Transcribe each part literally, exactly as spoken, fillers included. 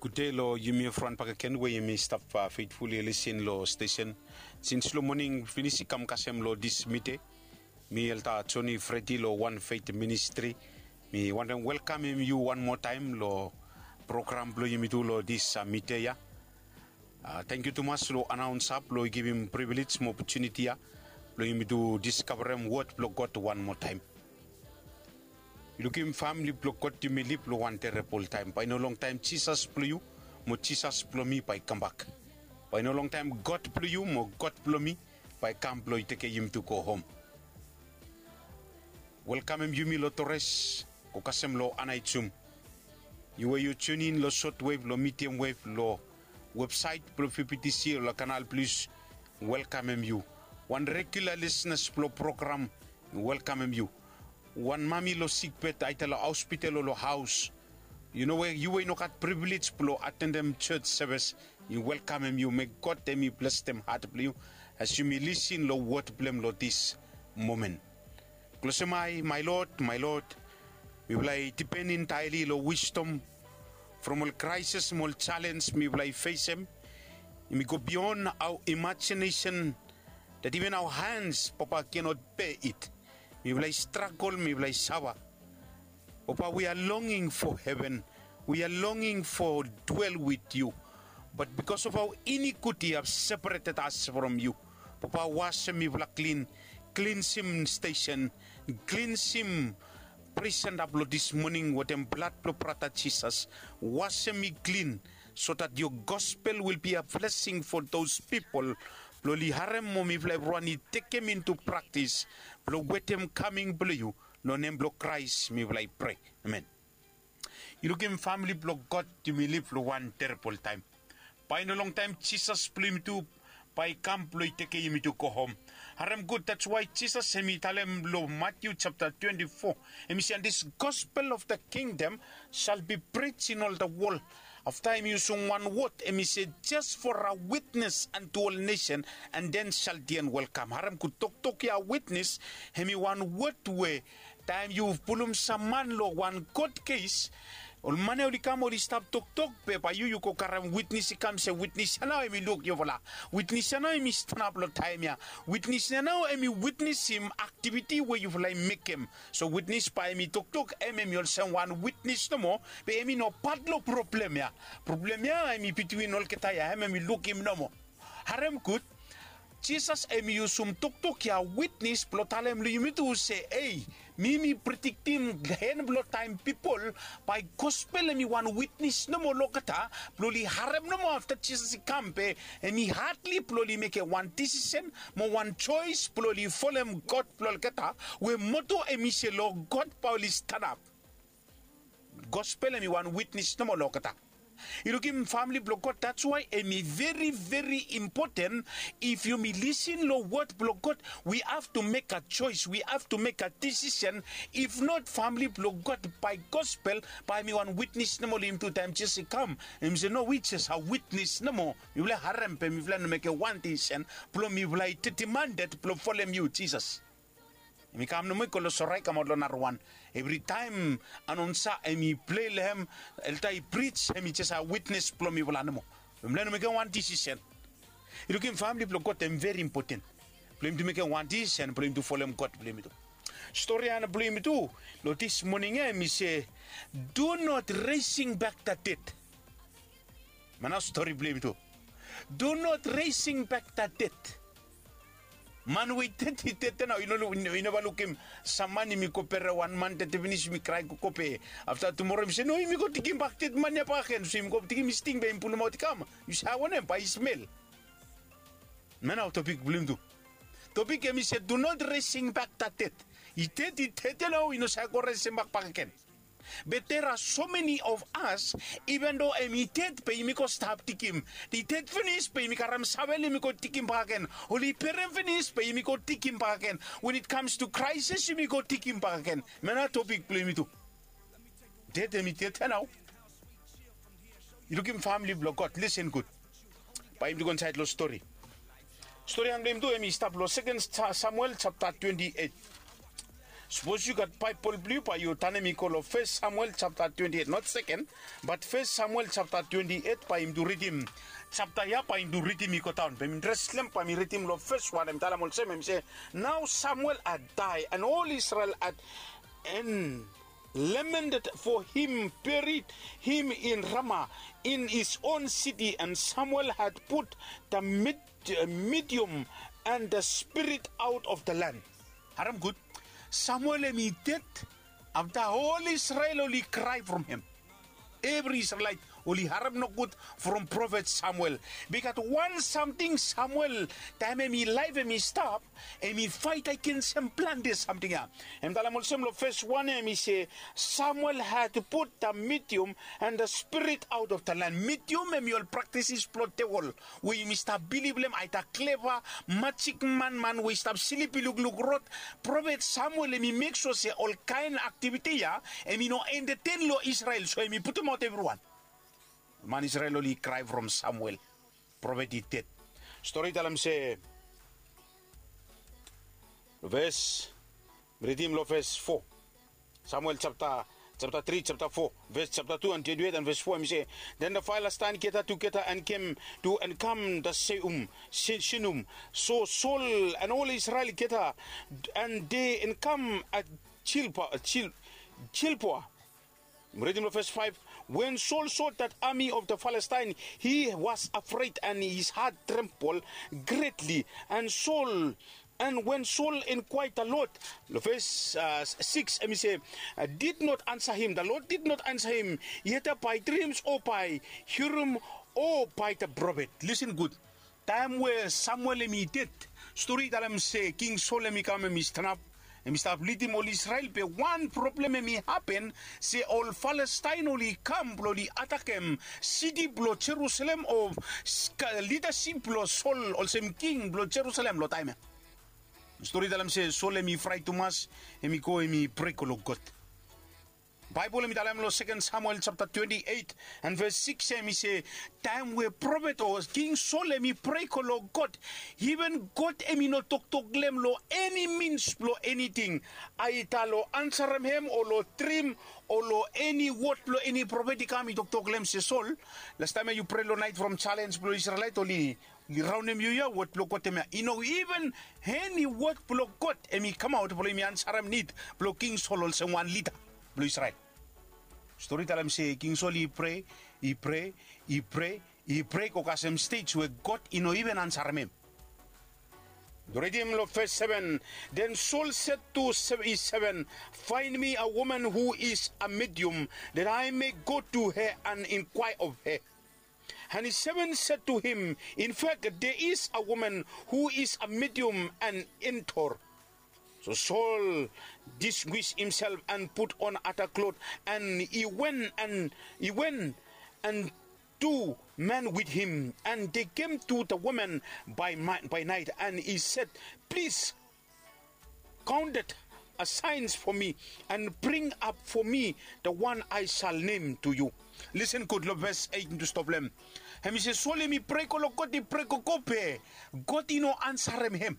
Gude long yumi evriwan bakegen we yumi stap faithful i lisin long stesen. Sins long moning finis i kam kasem long dis mide, mi Elder Johnny Freddy long One Faith Ministry, mi wantem welkamem yu wan moa taem long program blong yumi tu long dis mide ya. Tangkiu tumas long anaonsa blong i givim privilej mo opotuniti ya blong yumi tu diskavarem wod blong God wan moa taem. Yu lukim famili blong God, yumi liv long wan terebol taem. Bae i no longtaem Jisas blong yu mo Jisas blong mi bae i kambak. Bae i no longtaem God blong yu mo God blong mi bae i kam blong i tekem yumi tu go hom. Welkamem yumi long Torres, go kasem long Anaijum. Yu we yu tunin long sotwev, long midiam wev, long websaet blong V B T C o long Kanal Plus, welkamem yu. Wan regula lisenas blong program, welkamem yu. Wan mami long sikbed, aeda long hospital o long haos, yu no we yu we i no gat privilej blong atendem jos sevis, mi welkamem yu. Mek God hemi blesem hat blong yu as yumi lisin long wod blong hem long dis momen. Klosem ae, my Lord, my Lord, mifala i dipen entaeli long wisdom from ol kraesis mo ol jalenj mifala i fesem. Hemi go bion aoa imajinesen, that even aoa hans, Papa, kenot bea it. Mifala i stragol, mifala i safa. Papa, we are longing for heaven. We are longing for dwell with you. But because of aoa inikuti i have separated us from you. Papa, wasem mifala klin, klinsim stesen, klinsim presenta blong dis moning wetem blad blong brata Jisas. Wasem mi klin, so that your gospel will be a blessing for those people blong oli harem mo mifala evriwan i tekem into praktis blong wetem kaming blong yu. Long nem blong Kraes mifala i prea. Amen. Yu lukim famili blong God, yumi liv long wan terebol taem. Bae i no longtaem Jisas blong yumi tu bae i kam blong i tekem yumi tu go hom. Harem gud, that's why Jisas hemi talem long Matiu japta twenti fo, hemi se, and this gospel of the kingdom shall be preached in all the world. Afta hemi yusum wan wod, hemi se, just for a witness unto all nation, and then shall the end will come. Harem gud, toktok ya witness, hemi wan wod we taem yu pulum sam man long wan kot kes, ol man ya oli kam oli stap toktok, be bae yu yu go karem witnes i kam se witnes ya nao hemi luk yufala. Witnes ya nao hemi stanap long taem ya. Witnes ya nao hemi witnesim aktiviti we yufala i mekem. So witnes bae hemi toktok, hem hemi olsem wan witnes nomo, be hemi no pat long problem ya. Problem ya hemi bitwin olgeta ya, hem hemi lukim nomo. Harem gud. Jisas hemi yusum toktok ya witnes blong talem long yumi tu se, ei, mi mi prediktim hen blong taem pipol bae gospel hemi wan witnes nomo long olgeta blong oli harem nomo afta Jisas i kam, be hemi hadli blong oli mekem wan desisen mo wan joes blong oli folem God blong olgeta, we moto hemi se long God bae oli stanap. Gospel hemi wan witnes nomo long olgeta. Yu lukim famili blong God, that's why hemi veri veri impoten. If yumi lisin long wod blong God, we have to mek a joes, we have to mek a desisen. If not, famili blong God, bae gospel bae hemi wan witnes nomo long yumi tu taem Jisas i kam. Hemi se no, we jes a witnes nomo. Mifala i harem be mifala i no mekem wan desisen blong mifala i detemanded blong folem yu Jisas. Hemi kam nomo i go long sora i kamaot long narawan. Evritaem anonsa hemi plei long hem, elda i prij, hemi jes a witnes blong mifala nomo. Mifala i no mekem wan desisen. Yu lukim famili blong God, hem veri impoten blong yumi tu mekem wan desisen blong yumi tu folem God blong yumi tu. Stori ya blong yumi tu long dis moning ya hemi se, do not raising back the dead. Hemia nao stori blong yumi tu. Do not raising back the dead. Man we i ded i ded nao. Yu neva lukim sam man hemi go bere wan man ded finis, hemi krae gogo, be afta tumoro hemi se no, yumi go digimbak ded man ya bakegen. So yumi go digimbak sting be yumi pulumaot i kam. Yu save wanem? Bae i smel. Hemia nao topik blong yumi tu. Topik hemi se do not raising back the dead. I ded i ded ya nao, i no save go resembak bakegen. But there are so many of us, even though hemi ded be yumi go stap digim. I ded finis be yumi karem savel yumi go digim bakegen. Oli berem finis be yumi go digim bakegen. When it comes to crisis yumi go digim bakegen. Hemia nao topik blong yumi tu. Ded hemi ded ya nao. Yu lukim famili blong God, lisen gud. Bae yumi tu go insaed long stori. Stori ya blong yumi tu hemi stap long Seken Samuel japta twenti eit. Sapos yu gat Baebol blong yu, bae yu tanem i go long Fes Samuel japta twenti et, not seken, bat Fes Samuel japta twenti et, bae yumi tu ridim japta ya, bae yumi tu ridim i go daon. Bae yumi dres long hem, bae yumi ridim long fes wan, hem talem olsem, hem se, "Now Samuel had died, and all Israel had, and lamented for him, buried him in Ramah, in his own city, and Samuel had put the Mid-, uh, medium and the spirit out of the land." Harem gud. Samuel hem i ded, afta ol Israel oli krae from hem. Evri Israelait oli harem nogud from profet Samuel. Bikos wan samting Samuel, taem hem i laef hem i stap, hem i faet agensem plante samting ya. Hem talem olsem long fes wan ya, hem i se, "Samuel had put the medium and the spirit out of the land." Medium hem i ol praktisis blong devil we yumi stap bilif long hem, aeda kleva, majik man, man we i stap slip i lukluk rod. Profet Samuel hem i mek sua se ol kaen aktiviti ya hem i no entertain long Israel, so hem i putumaot evriwan. Man Israel oli krae from Samuel. Profet i ded. Stori i talem se, ves, ridim long ves fo. Samuel japta, japta tri, japta fo, ves japta tu and twenti et and ves fo, hem i se, "Then the Philistine gathered together and came to encamp the Seum, Shi-, Shinum. So Saul and all Israel gathered, and they encamp at Gilboa, Gil-, Gilboa." Ridim long ves faef. When Saul saw that army of the Philistine, he was afraid and his heart trembled greatly. And Saul, and when Saul inquired the Lord, long ves, uh, sikis, hem i se, uh, did not answer him. The Lord did not answer him, either by dreams or by Urim or by the prophet. Listen good. Taem we Samuel hem i ded, stori i talem se King Saul hem i kam, hem i stanap, hem i stap lidim ol Israel, be wan problem hem i hapen, se ol Palestaen oli kam blong oli atakem siti blong Jerusalem o s-, ka-, lidasip blong Saul olsem king blong Jerusalem long taem ya. Stori i talem se Saul hem i fraet tumas, hem i go, hem i prea go long God. Baebol hem i talem long seken Samuel japta twenti et and ves sikis ya, hem i se, taem we profet o King Saul hem i prea go long God, iven God hem i no toktok long hem long eni mins blong eniting, aeda long ansarem hem o long drim o long eni wod blong eni profet i kam i toktok long hem se, "Saul, lastaem ya yu prea long naet from jalens blong Israelait oli, oli raonem yu ya, wod blong God hemia." I no iven eni wod blong God hem i kamaot blong hem i ansarem nid blong King Saul olsem wan lida blong Israel. Stori i talem se King Saul i prea, i prea, i prea, i prea go kasem stej we God i no iven ansarem hem. Ridim long ves seven. Then Saul said to se-, his servant, "Find me a woman who is a medium, that I may go to her and inquire of her." And his servant said to him, "In fact, there is a woman who is a medium and Endor." So Saul disguised himself and put on other clothes, and he went and, he went and two men with him, and they came to the woman by mi-, by night, and he said, "Please count the assigns for me, and bring up for me the one I shall name to you." Listen good, long ves eit mi tu stop long hem. Hem i se Saul hem i prea go long God, i prea gogo, be God i no ansarem hem.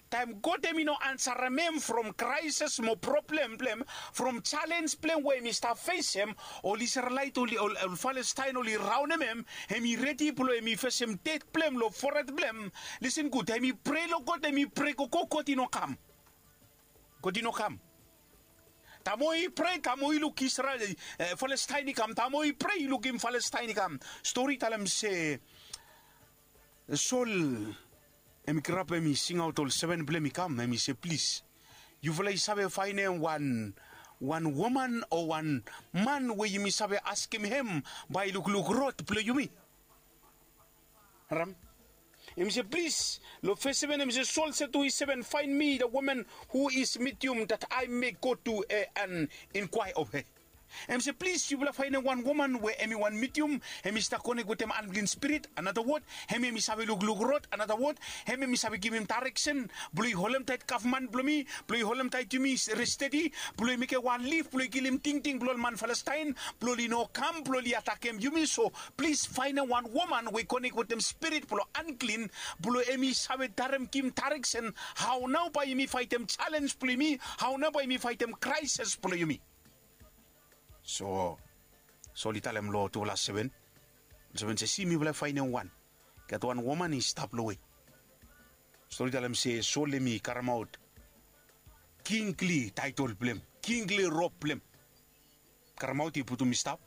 Taem God hem i no ansarem hem from kraeses mo problem blong hem, from jalens blong hem we hem i stap fesem, ol Israelait oli, ol, ol Palestaen oli raonem hem, hem i redi blong hem i fesem ded blong hem long fored blong hem. Listen good, hem i prea long God, hem i prea gogo, God i no kam. God i no kam. Taem we i prea, taem we i luk Israel, eh, Palestaen i kam, taem we i prea i lukim Palestaen i kam. Stori i talem se Saul hem i grap, hem i singaot ol seven blong hem i kam, hem i se, "Plis, yufala i save faenem wan, wan woman o wan man we yumi save askem hem bae i lukluk rod blong yumi." Harem. Hem i se, "Plis," long ves seven hem i se, Saul said to his servant, "Find me the woman who is medium, that I may go to her and inquire of her." Hem se plis yufala faenem wan woman we hem i wan medium, hem i stap konek wetem anklin spirit. Anata wod, hem hem i save lukluk rod. Anata wod, hem hem i save givim daereksen blong i holemtaet gavman blong mi, blong i holemtaet yumi stedi, blong i mekem wan lif blong i kilim tingting blong ol man Palestaen, blong oli no kam blong oli atakem yumi. So plis faenem wan woman we i konek wetem spirit blong anklin, blong hem i save darem givim daereksen hao nao bae yumi faetem jalenj blong yumi, hao nao bae yumi faetem kraesis blong yumi. So Sol i talem long tufala seven, seven se, si, mifala i faenem wan, i gat wan woman i stap long we. Stori talem se Sol hem i karemaot kingli taetol blong hem, kingli rob blong hem. Karemaot, i putum i stap,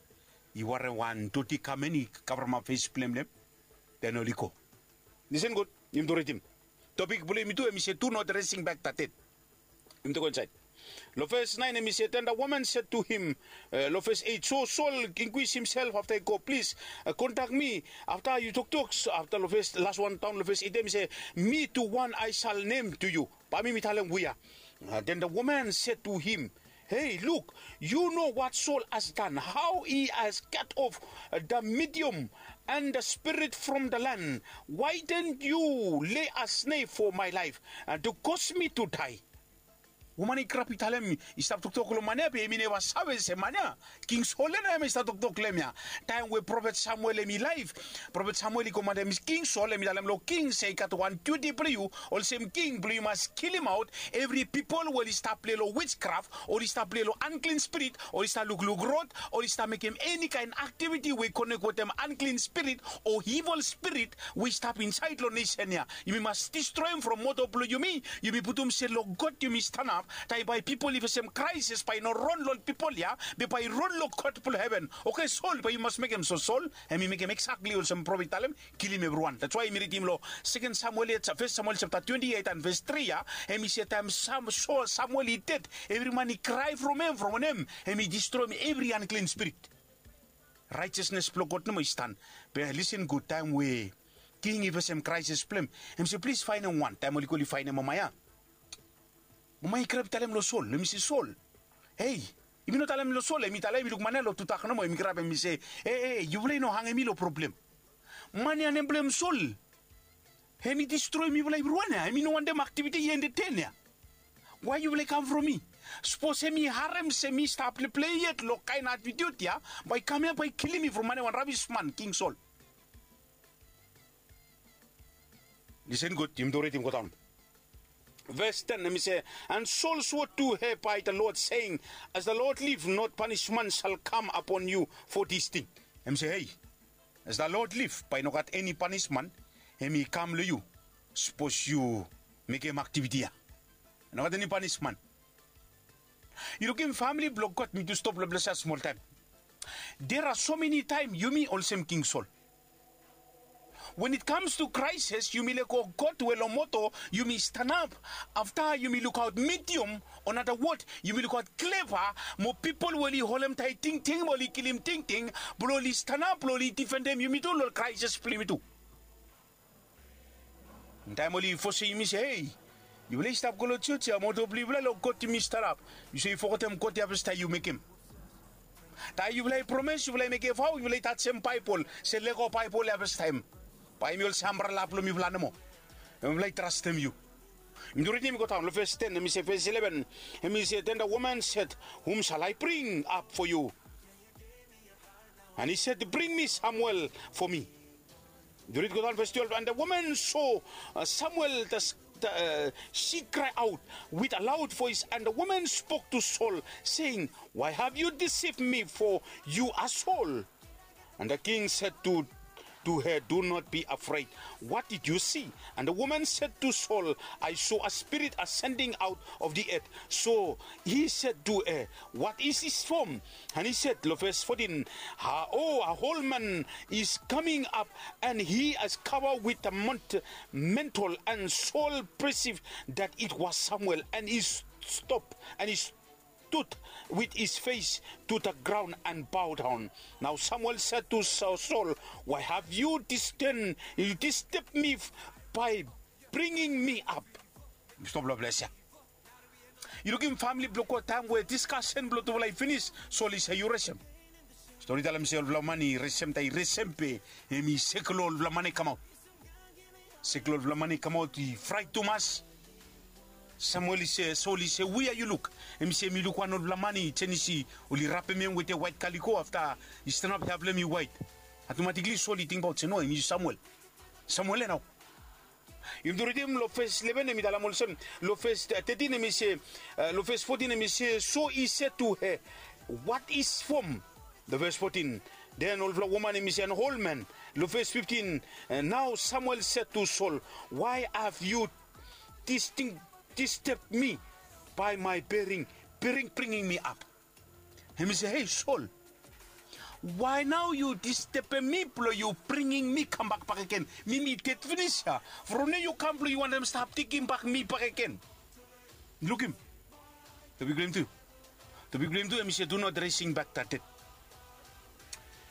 i warem wan doti gamen, i kavremap fes blong hem long hem. Den oli go. Lisen gud, yumi tu ridim. Topik blong yumi tu hem i se, do not raising back the dead. Yumi tu go insaed. Long ves naen hem i se, then the woman said to him, long ves eit, so Saul inkwis himself afta i go, plis kontak mi afta yu toktok. Afta long ves las wan daon long ves eit hem i se, mi tu wan I shall name to you. Bae mi mi talem we ya. Then the woman said to him, hey, look, you know what Saul has done, how he has cut off the medium and the spirit from the land. Why didn't you lay a snare for my life and to cause me to die? Woman i grab i talem, i stap toktok long man ya be hem i neva save se man ya King Sol ya nao hem i stap toktok long hem ya. Taem we profet Samuel hem i laef, profet Samuel i komanem King Sol, hem i talem long king se i gat wan duti blong yu. Olsem king blong yu mas kilimaot evri pipol we oli stap pilai long wijkraf, oli stap pilai long anklin spirit, oli stap lukluk rod, oli stap mekem eni kaen aktiviti we i konek wetem anklin spirit o ivol spirit we i stap insaed long nesen ya. Yumi mas distroem from moto blong yumi. Yumi putum se long God yumi stanap. Taem bae pipol i fesem kraesis bae i no ron long ol pipol ya, be bae i ron long God blong heven. Oke, Sol, bae yu mas mekem so. Sol hem i mekem eksakli olsem profet i talem, kilim evriwan. That's why yumi ridim long Seken Samuel ya, Fes Samuel japta twenti eit and ves tri ya, hem i se taem Samuel i ded, evri man i krae from hem, from wanem, hem i distroem evri anklin spirit. Raejesnes blong God nomo i stan. Be lisen gud, taem we king i fesem kraesis blong hem, hem se plis faenem wan. Taem oli go oli faenem mama ya, mama i grab i talem long Sol, hem i se, Sol, hei, yumi no talem long Sol, hem i talem, hem i luk man ya long tudak nomo, hem i grab hem i se, e, e, yufala i no hangem mi long problem. Man ya nem blong hem Sol, hem i distroem yufala evriwan ya, hem i no wantem aktiviti ya entetem ya. Wae yufala i kam from mi? Sapos hem i harem se mi stap pilai yet long kaen atitiut ya, bae i kam ya bae i kilim mi from man ya, wan rabis man, King Sol. Lisen gud, yumi tu ridim go daon. Ves ten hem i se, and Saul swore to her by the Lord, saying, as the Lord live, not punishment shall come upon you for this thing. Hem i se, hei, as the Lord live, bae i no gat eni panisman hem i kam long yu sapos yu mekem aktiviti ya. No gat eni panisman. Yu lukim famili blong God, mi tu stop long ples ya smoltaem. There are so many taem yumi olsem King Sol. When it comes to crisis, yumi lego God we long moto, yumi stanap. Afta yumi lukaot medium, o nata wod, yumi lukaot kleva, mo pipol we oli holemtaet tingting, mo oli kilim tingting, blong oli stanap, blong oli difendem yumi tu long ol crisis blong yumi tu. Taem oli fosem yumi se, hei, yufala i stap go long jos ya, moto blong yufala long God yumi stanap. Yu se yu fogetem God ya fastaem yu mekem. Taem yufala i promes, yufala i mekem vao, yufala i tajem Baebol, se lego Baebol ya fastaem. Bae hem i olsem ambrela blong mifala nomo. Mifala i trastem yu. Yumi tu ridim i go daon long ves ten, hem i se, ves eleven, hem i se, then the woman said, whom shall I bring up for you? And he said, bring me Samuel for me. Yu rid go daon ves twelve, and the woman saw, uh, Samuel, the, the, uh, she cried out with a loud voice, and the woman spoke to Saul, saying, why have you deceived me, for you are Saul? And the king said to, to her, do not be afraid. What did you see? And the woman said to Saul, I saw a spirit ascending out of the earth. So he said to her, what is his form? And he said, long ves fourteen, oh, a old man is coming up, and he is covered with a mant-, mantle. And Saul perceived that it was Samuel, and he stopped, and he stood with his face to the ground and bowed down. Now Samuel said to Sa-, Saul, why have you disdained, you disturbed me by bringing me up? Stop long ples ya. Yu lukim famili blong God, taem we diskasen blong tufala i finis, Sol i se yu resem. Stori talem se olfala man i resem, taem i resem be hem i seklo olfala man i kamaot. Seklo olfala man i kamaot, i fraet tumas. Samuel i se, Sol i se, wia yu luk? Hem i se hem i luk wan olfala man i jenis i oli rapem hem wetem waet kaliko, afta i stanap, hea blong hem i waet. Atomatikli Sol i tingbaot se no, hem i Samuel. Samuel ya nao. Yumi tu ridim long ves leven, hem i talem olsem, long ves tetin hem i se, long ves fotin hem i se, so he said to her, what is form? Long ves fotin. Den olfala woman hem i se, an ol man. Long ves fiftin, nao Samuel said to Sol, why have you disturb me by my bearing, bearing, bringing me up? Hem i se, hei Sol, wae nao yu distebem mi blong yu bringim mi kambak bakegen? Mi mi ded finis ya. From nao yu kam blong yu wantem stap tekimbak mi bakegen. Lukim. Topik blong yumi tu. Topik blong yumi tu hem i se, do not raising back the dead.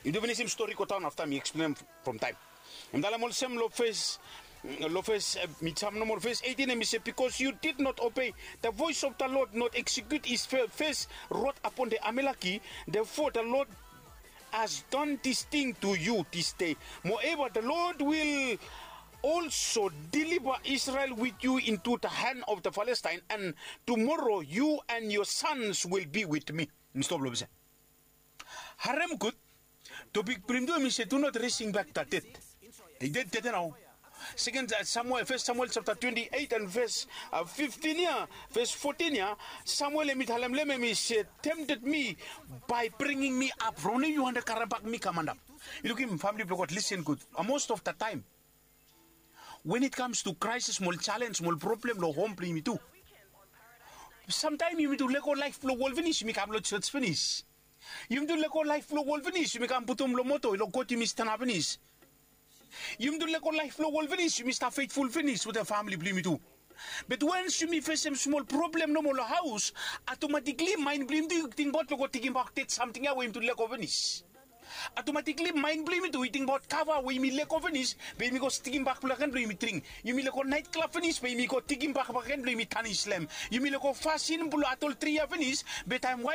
Yumi tu finisim stori godaon, afta mi eksplenem from taem. Hem talem olsem long ves, long ves, mi jam nomo long ves eitin, hem i se, because you did not obey the voice of the Lord, not execute his first wrath upon the Amaleki, therefore the Lord has done this thing to you this day. Moreover, the Lord will also deliver Israel with you into the hand of the Philistine, and tomorrow you and your sons will be with me. Mi stop long ves ya. Harem gud. Topik blong yumi tu hem i se, do not raising back the dead. I ded, ded ya nao. Seken Samuel, ves Samuel japta twenti eit and ves fiftin ya, ves fotin ya, Samuel hem i talem long hem, hem i se, tempted me by bringing me up. From nao yu wantem karembak mi kam antap. Yu lukim, famili blong God, lisen gud. Most of the time, when it comes to crisis, smol jalenj, smol problem long hom blong yumi tu, samtaem yumi tu lego laef blong wol finis, yumi kam long jos finis. Yumi tu lego laef blong wol finis, yumi kam putum long moto, long kot yumi stanap finis. Yumi tu lego laef blong wol finis, yumi stap fetful finis wetem famili blong yumi tu. Be wans yumi fesem smol problem nomo long haos, atomatikli maen blong yumi tu i tingbaot long go tekimbak ded samting ya we yumi tu lego finis. Atomatikli maen blong yumi tu i tingbaot kava we yumi lego finis, be yumi go tekimbak bakegen blong yumi dring. Yumi lego naet klab finis, be yumi go tekimbak bakegen blong yumi tanis long hem. Yumi lego fasin blong adoltri ya finis, be taem